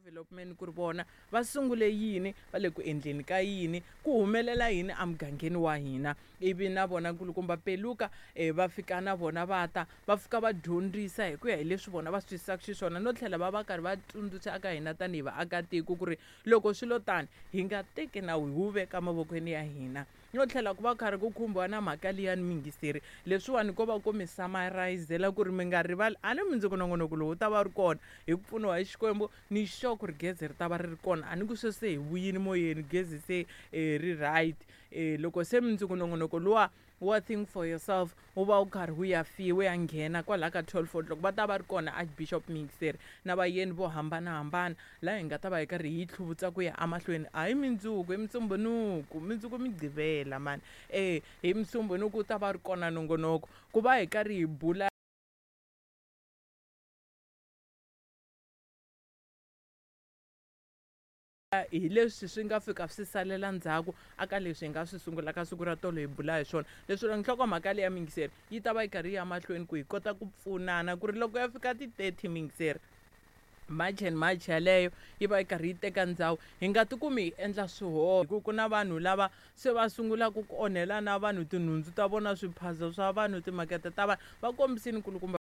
Development ku ri vona va sungule yini, va le ku endleni ka yini, ku humelela yini emugangeni wa hina. Ivi na vona nkulukumba Peluka va fika na vona va ta va fika va dyondzisa hi ku ya hi leswi vona va swi twisisaka xiswona, no tlhela va va karhi va tsundzuxa eka hina tanihi vaakatiko ku ri loko swi lo tani hi nga teki nawu hi wu veka mavokweni ya hina. No tlhela ku va karhi ku khumbiwa na mhaka liyani muyingiseri, leswiwani ko va ku mi summarizela ku ri mi nga rivali a ni mundzuku nongonoko lowu wu ta va ri kona hi ku pfuniwa hi Xikwembu, ni sure ku ri gezi ri ta va ri ri kona. A ni ku sweswi se hi vuyile moyeni gezi se ri right. Loko se mundzuku nongonoko luwa wa Think for Yourself wu va wu karhi wu ya fi wu ya nghena kwalaya ka 12 o'clock, va ta va ri kona Archbishop Muyingiseri na vayeni vo hambanahambana laha hi nga ta va hi karhi hi tlhuvutsa ku ya emahlweni. A hi mundzuku, hi Musumbhunuku, mundzuku Mugqivela mani. Hi Musumbhunuku wu ta va ri kona nongonoko ku va hi karhi hi bula hi leswi swi nga fika swi salela ndzhaku aka leswi hi nga swi sungula ka siku ra tolo hi bula hi swona. Leswi nhlokomhaka leyi ya muyingiseri yi ta va yi karhi yi ya mahlweni ku hi kota ku pfunana ku ri loko ya fika ti-30 muyingiseri, March and March yaleyo yi va yi karhi yi teka ndhawu, hi nga tikumi hi endla swihoxo hi ku ku na vanhu lava se va sungulaka ku onhela na vanhu tinhundzu ta vona, swiphaza swa vanhu, timakete ta vanhu. Va kombisile nkulukumba.